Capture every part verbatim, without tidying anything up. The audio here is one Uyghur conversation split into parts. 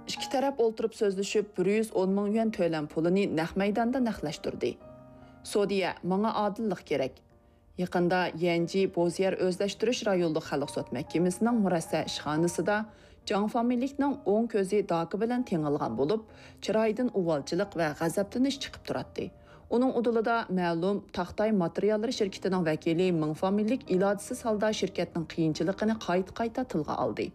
ئىككى تەرەپ ئولتۇرۇپ سۆزلىشىپ، بىر يۈز ئون مىڭ يۈەن تۆلەم پۇلىنى نەق مەيداندا نەقلەشتۈردى. سودىيە، ماڭا ئادىللىق كېرەك. يېقىندا يەنجى بوزيەر ئۆزلەشتۈرۈش رايونلۇق خەلق سوت مەھكىمىسىنىڭ مۇرەسسە ئىشخانىسىدا جاڭ فامىلىلىكنىڭ ئوڭ كۆزى داكا بىلەن تېڭىلغان بولۇپ، چىرايىدىن ئۇۋالچىلىق ۋە غەزەپلىنىش چىقىپ تۇراتتى. ئۇنىڭ ئۇدۇلىدا مەلۇم تاختاي ماتېرىياللىرى شىركىتىنىڭ ۋەكىلى مىڭ فامىلىلىك ئىلاجىسىز ھالدا شىركەتنىڭ قىيىنچىلىقىنى قايتا-قايتا تىلغا ئالدى.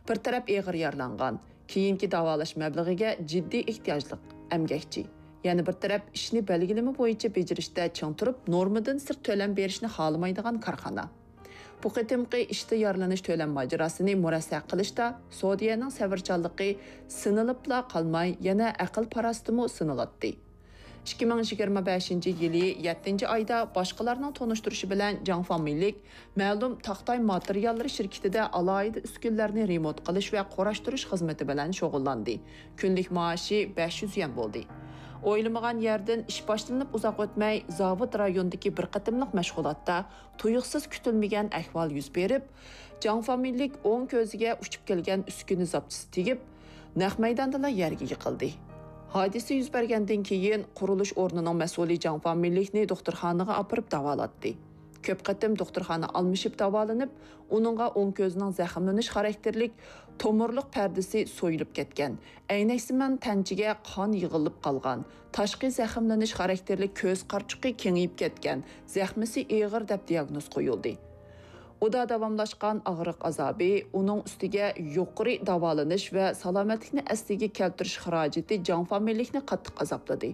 بىر تەرەپ ئېغىر يارىلانغان، كېيىنكى داۋالاش مەبلىغىگە جىددىي ئېھتىياجلىق ئەمگەكچى، يەنە بىر تەرەپ ئىشنى بەلگىلىمە بويىچە بېجىرىشتە چىڭ تۇرۇپ، نورمىدىن سىرت تۆلەم بېرىشنى خالىمايدىغان كارخانا. بۇ قېتىمقى ئىشتا يارىلىنىش تۆلەم ماجىراسىنى مۇرەسسە قىلىشتا سودىيەنىڭ سەۋرچانلىقى سىنىلىپلا قالماي، يەنە ئەقىل-پاراسىتىمۇ سىنىلاتتى. ئىككى مىڭ يىگىرمە بەشىنچى يىلى يەتتىنچى ئايدا باشقىلارنىڭ تونۇشتۇرۇشى بىلەن جاڭ فامىلىلىك مەلۇم تاختاي ماتېرىياللىرى شىركىتىدە ئالاھىدە ئۈسكۈنىلەرنى رېمونت قىلىش ۋە قۇراشتۇرۇش خىزمىتى بىلەن شۇغۇللاندى. كۈنلۈك مائاشى بەش يۈز يۈەن بولدى. ئويلىمىغان يەردىن ئىش باشلىنىپ ئۇزاق ئۆتمەي، زاۋۇت رايونىدىكى بىر قېتىملىق مەشغۇلاتتا تۇيۇقسىز كۈتۈلمىگەن ئەھۋال يۈز بېرىپ، جاڭ فامىلىلىك ئوڭ كۆزىگە ئۇچۇپ كەلگەن ئۈسكۈنە زاپچىسى تېگىپ، نەق مەيداندىلا يەرگە يىقىلدى. ھادىسە يۈز بەرگەندىن كېيىن، قۇرۇلۇش ئورنىنىڭ مەسئۇلى جاڭ فامىلىلىكنى دوختۇرخانىغا ئاپىرىپ داۋالاتتى. كۆپ قېتىم دوختۇرخانا ئالمىشىپ داۋالىنىپ، ئۇنىڭغا ئوڭ كۆزىنىڭ زەخىملىنىش خاراكتېرلىك تومۇرلۇق پەردىسى سويۇلۇپ كەتكەن، ئەينەكسىمان تەنچىگە قان يىغىلىپ قالغان، تاشقى زەخىملىنىش خاراكتېرلىك كۆز قارىچۇقى كېڭىيىپ كەتكەن، زەخمىسى ئېغىر دەپ دىياگنوز قويۇلدى. ئۇدا داۋاملاشقان ئاغرىق ئازابى، ئۇنىڭ ئۈستىگە يۇقىرى داۋالىنىش ۋە سالامەتلىكنى ئەسلىگە كەلتۈرۈش خىراجىتى جاڭ فامىلىلىكنى قاتتىق ئازابلىدى.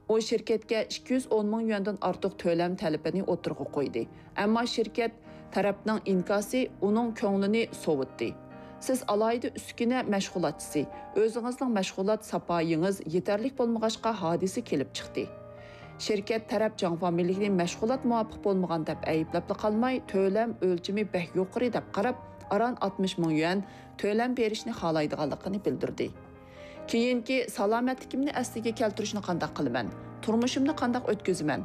ئۇ شىركەتكە ئىككى يۈز ئون مىڭ يۈەندىن ئارتۇق تۆلەم تەلىپىنى ئوتتۇرىغا قويدى. ئەمما شىركەت تەرەپنىڭ ئىنكاسى ئۇنىڭ كۆڭلىنى سوۋۇتتى. سىز ئالاھىدە ئۈسكۈنە مەشغۇلاتچىسى، ئۆزىڭىزنىڭ مەشغۇلات ساپايىڭىز يېتەرلىك بولمىغاچقا ھادىسە كېلىپ چىقتى. شىركەت تەرەپ جاڭ فامىلىلىكنى مەشغۇلات مۇۋاپىق بولمىغان دەپ ئەيىبلەپلا قالماي، تۆلەم ئۆلچىمى بەك يۇقىرى دەپ قاراپ، ئاران ئاتمىش مىڭ يۈەن تۆلەم بېرىشنى خالايدىغانلىقىنى بىلدۈردى. كېيىنكى سالامەتلىكىمنى ئەسلىگە كەلتۈرۈشنى قانداق قىلىمەن؟ تۇرمۇشۇمنى قانداق ئۆتكۈزىمەن؟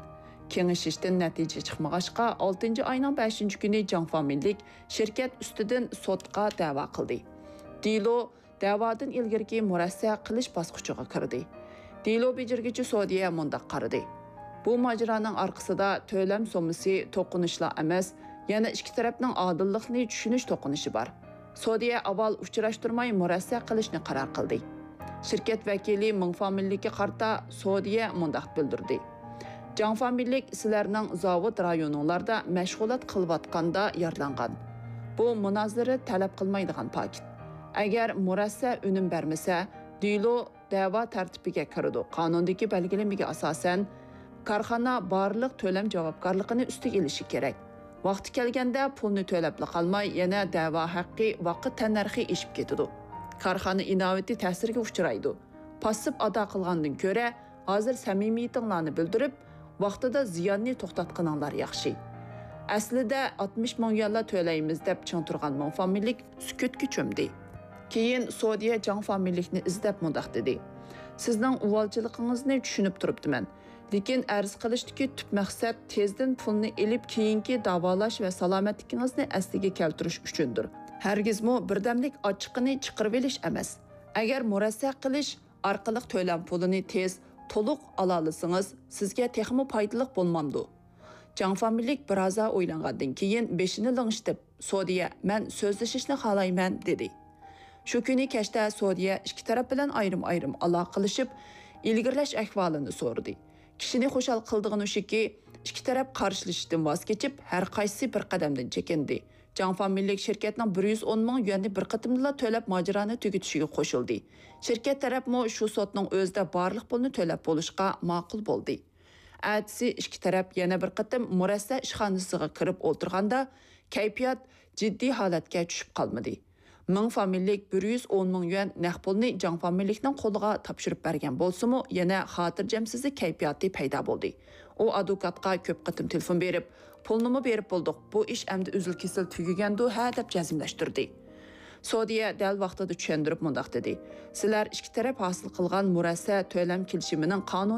كېڭىشىشتىن نەتىجە چىقمىغاچقا، ئالتىنچى ئاينىڭ بەشىنچى كۈنى جاڭ فامىلىلىك شىركەت ئۈستىدىن سوتقا دەۋا قىلدى. دېلو دەۋادىن ئىلگىرىكى مۇرەسسە قىلىش باسقۇچىغا كىردى. دېلو بېجىرگۈچى سودىيە مۇنداق قارىدى: بۇ ماجىرانىڭ ئارقىسىدا تۆلەم سوممىسى توقۇنۇشلا ئەمەس، يەنە ئىككى تەرەپنىڭ ئادىللىقنى چۈشىنىش توقۇنۇشى بار. سودىيە ئاۋۋال ئۇچراشتۇرماي مۇرەسسە قىلىشنى قارار قىلدى. شىركەت ۋەكىلى مىڭ فامىلىلىككە قارىتا سودىيە مۇنداق بىلدۈردى: جاڭ فامىلىلىك سىلەرنىڭ زاۋۇت رايونۇڭلاردا مەشغۇلات قىلىۋاتقاندا يارىلانغان. بۇ مۇنازىرە تەلەپ قىلمايدىغان پاكىت. ئەگەر مۇرەسسە ئۈنۈم بەرمىسە، دېلو دەۋا تەرتىپىگە كىرىدۇ. قانۇندىكى بەلگىلىمىگە ئاساسەن، كارخانا بارلىق تۆلەم جاۋابكارلىقىنى ئۈستىگە ئېلىشى كېرەك. ۋاقتى كەلگەندە پۇلنى تۆلەپلا قالماي، يەنە دەۋا ھەققى ۋاقىت تەننەرخى ئېشىپ كېتىدۇ. كارخانا ئىناۋىتى تەسىرگە ئۇچرايدۇ. پاسسىپ ئادا قىلغاندىن كۆرە، ھازىر سەمىمىيىتىڭلارنى بىلدۈرۈپ، ۋاقتىدا زىياننى توختاتقىنىڭلار ياخشى. ئەسلىدە ئاتمىش مىڭ يۈەنلا تۆلەيمىز دەپ چىڭ تۇرغان مىڭ فامىلىلىك سۈكۈتكە چۆمدى. كېيىن سودىيە جاڭ فامىلىلىكنى ئىزدەپ مۇنداق دېدى: سىزنىڭ ئۇۋالچىلىقىڭىزنى چۈشىنىپ تۇرۇپتىمەن. لېكىن ئەرز قىلىشتىكى تۈپ مەقسەت تېزدىن پۇلنى ئېلىپ، كېيىنكى داۋالاش ۋە سالامەتلىكىڭىزنى ئەسلىگە كەلتۈرۈش ئۈچۈندۇر. ھەرگىزمۇ بىردەملىك ئاچچىقىنى چىقىرىۋېلىش ئەمەس. ئەگەر مۇرەسسە قىلىش ئارقىلىق تۆلەم پۇلىنى تېز، تولۇق ئالالىسىڭىز، سىزگە تېخىمۇ پايدىلىق بولمامدۇ؟ جاڭ فامىلىلىك بىرازا ئويلانغاندىن كېيىن بېشىنى لىڭشىتىپ، سودىيە، مەن سۆزلىشىشنى خالايمەن، دېدى. شۇ كۈنى كەچتە سودىيە ئىككى تەرەپ بىلەن ئايرىم-ئايرىم ئالاقىلىشىپ، ئىلگىرىلەش ئەھۋالىنى سورىدى. كىشىنى خۇشال قىلىدىغىنى شۇكى، ئىككى تەرەپ قارشىلىشىشتىن ۋاز كېچىپ، ھەر قايسىسى بىر قەدەمدىن چېكىندى. جاڭ فامىلىلىك شىركەتنىڭ بىر يۈز ئون مىڭ يۈەننى بىر قېتىمدىلا تۆلەپ، ماجىرانى تۈگىتىشىگە قوشۇلدى. شىركەت تەرەپمۇ شۇ سوتنىڭ ئۆزىدە بارلىق پۇلنى تۆلەپ بولۇشقا ماقۇل بولدى. ئەتىسى ئىككى تەرەپ يەنە بىر قېتىم مۇرەسسە ئىشخانىسىغا كىرىپ ئولتۇرغاندا، كەيپىيات جىددىي ھالەتكە چۈشۈپ قالمىدى. مىڭ فامىلىلىك بىر يۈز ئون مىڭ يۈەن نەق پۇلنى جاڭ فامىلىلىكنىڭ قولىغا تاپشۇرۇپ بەرگەن بولسىمۇ، يەنە خاتىرجەمسىزلىك كەيپىياتى پەيدا بولدى. ئۇ ئادۋوكاتقا كۆپ قېتىم تېلېفون بېرىپ، پۇلنىمۇ بېرىپ بولدۇق، بۇ ئىش ئەمدى ئۈزۈل-كېسىل تۈگىگەندۇ ھە دەپ جەزملەشتۈردى. سودىيە دەل ۋاقتىدا چۈشەندۈرۈپ مۇنداق دېدى: سىلەر ئىككى تەرەپ ھاسىل قىلغان مۇرەسسە تۆلەم كېلىشىمىنىڭ قانۇن